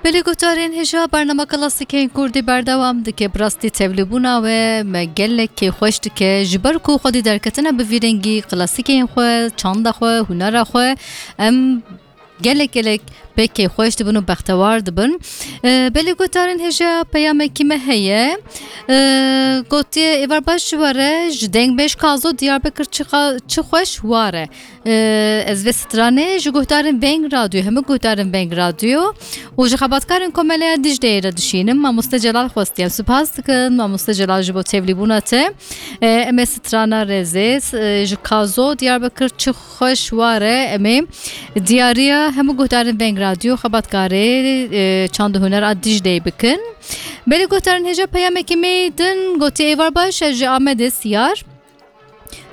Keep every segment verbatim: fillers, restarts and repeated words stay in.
Belê guhdarên hêja, bernama klasîkên kurdî berdewam dike. Bi rastî tevlîbûna we me gelek kêfxweş dike. Ji ber ku xwedî derketine bi vî rengî klasîkên xwe, çanda xwe, hunera xwe, em gelek gelek pê kêfxweş dibin û bextewar dibin. Ee, belê guhdarên hêja, peyamekî me heye. Ee, gotiye, êvar baş ji we re, ji Dengbêj Kazo Diyarbekir çi xa-, çi xweş ware. Ee, ez vê stranê ji guhdarên Veng Radyo, hemû guhdarên Veng Radyo û ji xebatkarên Komeleya Dicleyê re dişînim. Mamoste Celal xwestiye. Spas dikin, Mamoste Celal, ji bo tevlîbûna te. Ee, em ê strana rêzê, s-, e, ji Kazo Diyarbekir çi xweş ware, em ê diyariya hemû guhdarên Veng Radyo, xebatkarê, e, çand û huner a Dicleyê bikin. Belê guhdarên hêja, peyamekî me din gotiye, êvar baş, ez ji Amedê Siyar.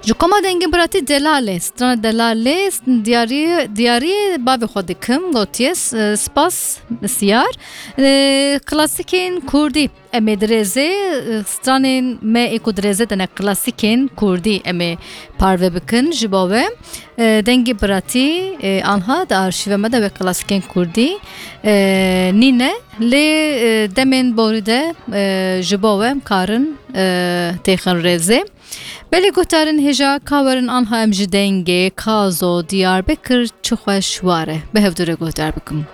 Ji koma dengê biratî Delalê, strana Delalê, diyarî, diyarî bavê xwe dikim, gotiye, s-, spas Siyar. E, klasîkên kurdî em ê dirêzê, e, stranên me ê ku dirêzê de ne klasîkên kurdî em ê parve bikin ji bo we. E, dengê biratî, e, anha di arşîva me de wek klasîkên kurdî, e, nîne, lê, e, demên borî de, e, ji bo we em karin, e, têxin rêzê. Belê guhdarên hêja, ka werin anha em ji dengê Kazo Diyarbekir çi xweş ware bi hevdû re guhdar bikin.